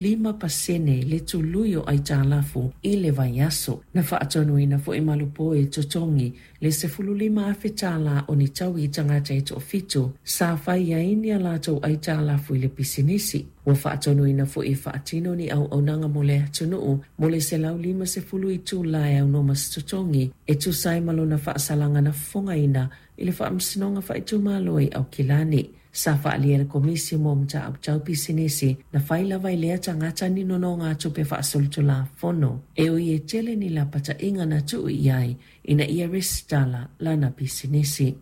5% le tului o aitalafu i le vaiaso. Na faatonuina foi malupo e totogi le $15,000 o ni taui i tagata e toafitu sa fai ai ni a latou aitalafu i le pisinisi. Ua faatonuina foi e faatino ni auaunaga mo le atunuu mo le 150 itula e aunoa ma se totogi e tusa ai ma lona faasalaga na fofogaina i le Faamasinoga Faaitumalo i Aukilani. Sa faaalia e le Komisi mo Mataupu Tau Pisinisi na fai lava e lea tagata ni nonogatupe faasolitulafono e ui e tele ni lapataiga na tuu i ai ina ia resitala lana pisinisi.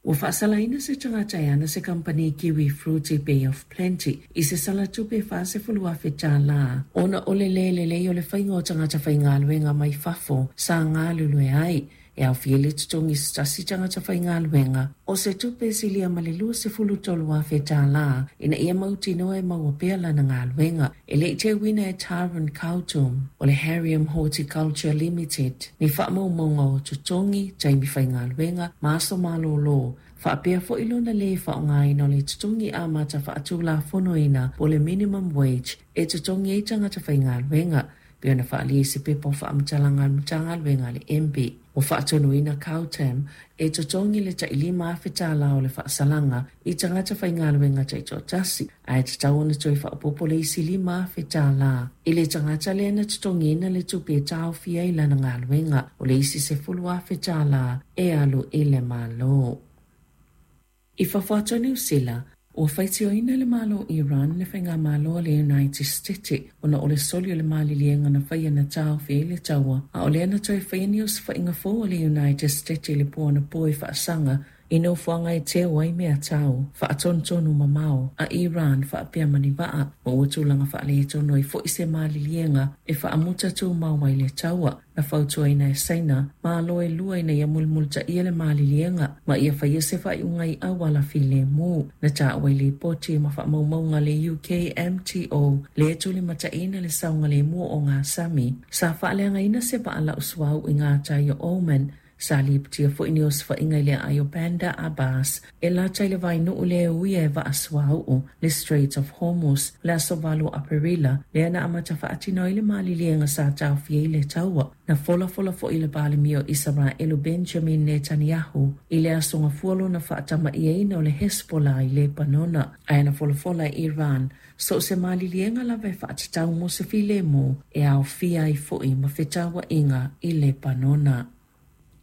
Ua faasalaina se tagata e ana se kamupani kiwi fruit i Bay of Plenty i se sala tupe $40,000 ona o le lē lelei o le faiga o tagata faigaluega mai fafo sa galulue ai e aofia le totogi i se tasi tagata faigaluega o se tupe e silia ma le $23,000 ina ia mautinoa e maua pea lana galuega. E le i teuina e Taryn Kautum o le Harriam Horticulture Limited ni faamaumauga o totogi, taimi faigaluega ma aso malōlō, faapea foi lona lē faaaogaina o le totogi amata faatulafonoina po o le minimum wage e totogi ai tagata faigaluega, pei ona faaalia i se pepa o faamatalaga a le Matagaluega a le MB. Ua faatonuina Kautam e totogi le tai $5,000 o le faasalaga i tagata faigaluega taitoatasi, ae tatau ona toe faaopoopo le isi $5,000 i le tagata lea na totogiina le tupe e taofia ai lana galuega. O le isi $10,000 e alu i le Malo. I fafo atu o Niu Sila, ua faitioina le Malo o Iran le faigamalo a le United Stete ona o le soli o le maliliega na faia na taofi ai le taua, a o lea na toe faia ni osofaiga fou a le United Stete i le po anapo e faasaga i nofoaga e teu ai meatau faatonutonu mamao a Iran faapea ma ni vaa, ma ua tulaga faaletonu ai foi se maliliega e faamuta tumau ai le taua. Na fautuaina e Saina malo e lua ina ia mulimulitaia le maliliega ma ia faia se faaiuga i auala filemu. Na taua i lipoti ma faamaumauga a le UKMTO le tulimataina le saogalemu o ogasami sa faaleagaina se vaa lau suauu i gatai o Oman. Sa lipotia foi ni osofaiga i le aai o Bandar Abbas e lata i le vainuu lea e uia e vaa suauu le Strait of Hormuz le aso 8 o Aperila, lea na amata faatino ai le maliliega sa taofia ai le taua. Na folafola foi le Palemia o Isaraelu Benjamin Netanyahu i le aso Gafua lona faatamaiaina o le Hezbollah i Lepanona, ae na folafola e Iran so o se maliliega lava e faatatau mo se filemu e aofia ai foi ma fetauaiga i Lepanona.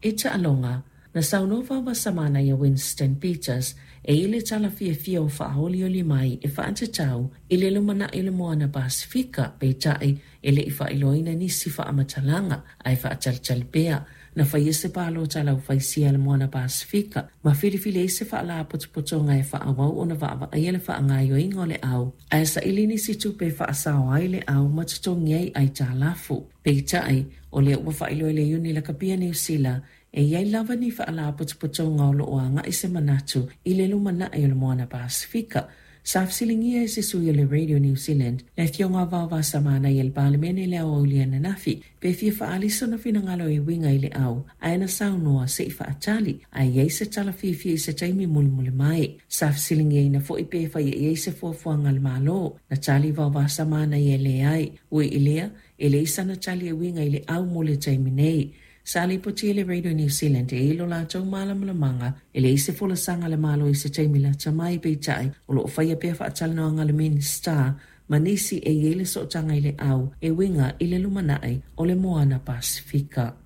E taaloga, na saunoa Vaovasamanaia Winston Peters e i le tala fiafia o faaolioli mai e faatatau i le lumanai o le Moana Pasefika, peitai e le i faailoaina nisi faamatalaga ae faatalitali pea. Na faia se palota a le aufaisia i le Moana Pasefika ma filifili ai se faalapotopotoga e faaauau ona vaavaaia le faagaoioiga o le au ae saili nisi tupe e faasao ai le au ma totogi ai aitalafu. Peitai, o lea ua faailoa e le Iuni Lakapi a Niu Sila, e i ai lava ni faalapotopotoga o lo o agai se manatu i le lumanai o le Moana Pasefika. Sa fesiligia e se sui o le Radio New Zealand, le Afioga a Vaovasamanaia i le Palemene i le aoauli ananafi, pe fia faaali sona finagalo e uiga i le au, ae na saunoa se i faatali, a i ai se tala fiafia i se taimi mulimuli mai. Sa fesiligiaina foi pe faia i ai se fuafuaga a le Malo, na tali Vaovasamanaia e leai. Ui i lea, e leai sana tali e uiga i le au mo le taimi nei. Sa lipotia e le Radio New Zealand e i lo latou malamalamaga e leai se folasaga a le Malo i se taimi lata mai, peitai o lo o faia pea faatalanoaga a le Minisita ma nisi e i ai le sootaga i le au e uiga i le lumanai o le Moana Pasefika.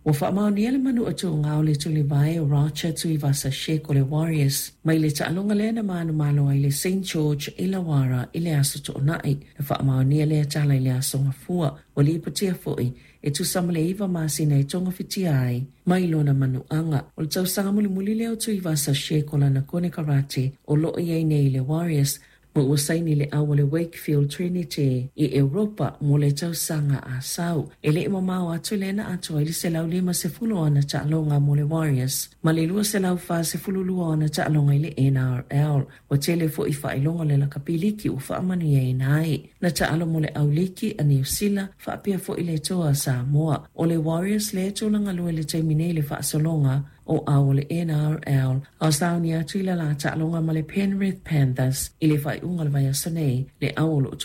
Ua faamaonia le manuatūgā o le tulivae o Roger Tuivasa-Sheck o le Warriors mai le taaloga lea na manumalo ai le Saint George Illawarra i le Aso Toonai. Na faamaonia lea tala i le Aso Gafua. Ua lipotia foi e tusa ma le 9 masina e togafitia ai mai lona manuaga. O le tausaga mulimuli lea o Tuivasa-Sheck o lana konekarate o lo o i ai nei i le Warriors ma ua saini le au a le Wakefield Trinity i Europa mo le tausaga a sau. E le i mamao atu lea na atoa ai le 150 o ana taaloga mo le Warriors ma le 242 o ana taaloga i le NRL. Ua tele foi faailoga o le lakapi liki ua faamanuiaina ai. Na taalo mo le au liki a Niu Sila faapea foi le toa a Samoa. O le Warriors lea e tulaga lua i le taimi nei i le faasologa o au o le NRL a o sauni atu i le la taaloga ma le Penrith Panthers i le faaiuga o le vaiaso nei, le au o lo o.